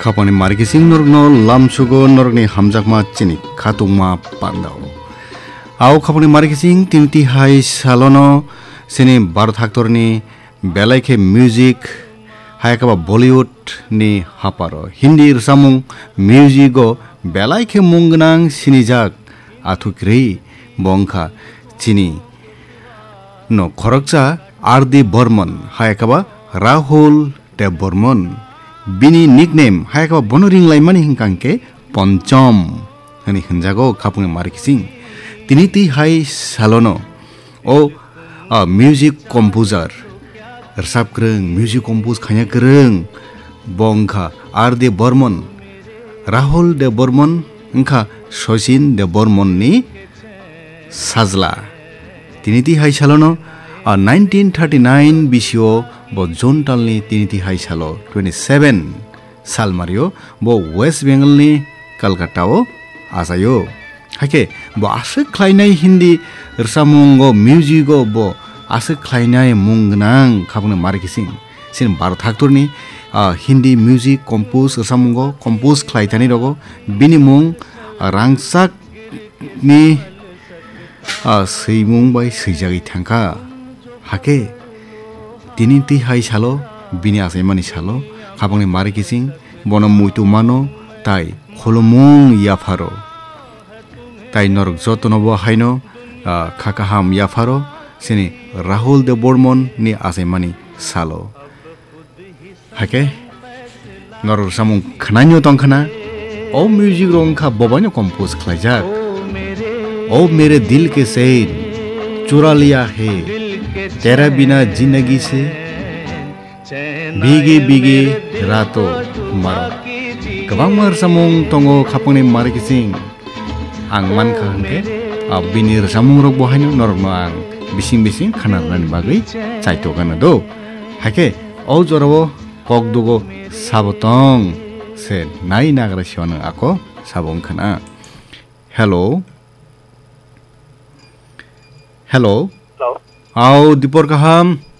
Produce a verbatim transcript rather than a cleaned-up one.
Khapangni marikising norokno lamsugo norokni hamjakma chini khatungma pandao. Ao khapangni marikising tinti hai salono chini Bharat haktorni belai khe music, hai khe ba Bollywood ni haparo Hindi rwchapmung music o belai khe mung gwnang sinijak athukrwi bo wngkha chini no khoroksa R D Burman, hai khe ba Rahul Dev Burman. Bini nickname hai khe ba bono ringlaimani hwnkha hwnkhe Ponchom hwnwi hwnjago khapangni marikising. Tini twi hai salono o, a, music composer, rwchap kwrwng, music compose khaina kwrwng, bo wngkha R D Burman, Rahul Dev Burman, wngkha Sachin Dev Burman ni sajla. Tini twi hai salono, a, nineteen thirty nine bisio bo June talni tini twi hai salo twenty seven salmario bo West Bengal ni Kolkata o achaio. Hakhe bo aswk khlainai Hindi rwchapmungo, music o bo aswk khlainai mung gwnang khapangni marikising. Chini Bharat haktorni, ah, Hindi music compose rwchapmungo compose khlai thani rogo bini mung rangchak ni, ah, swimung bai swijagwi thangkha. Hakhe tini twi hai salo, bini achaimani salo, khapangni marikising bono muitu mano tai khulumung yapharo. Tai norok jotono bo haino, ah, kha kaham yapharo, chini Rahul Dev Burman ni achaimani salo. Hakhe norok samung khwnaino tongkhana, o music rok wngkha bobaino compose khlaijak. O mere dil ke sain chura liya hai, tera bina zindagi se bhige bhige raaton maro. Kwbangma rwchapmung tongo khapangni marikising. Ang mankha hwnkhe, ah, bini rwchapmungrok bo haino norokno ang bising bising khana rwnani bagwi chaitokgana do. Hakhe o jorao kok dugo sabo tong se nai nagra siwano ako sabo wngkhana. Hello. Hello. Hello. Au, Dipor kaham?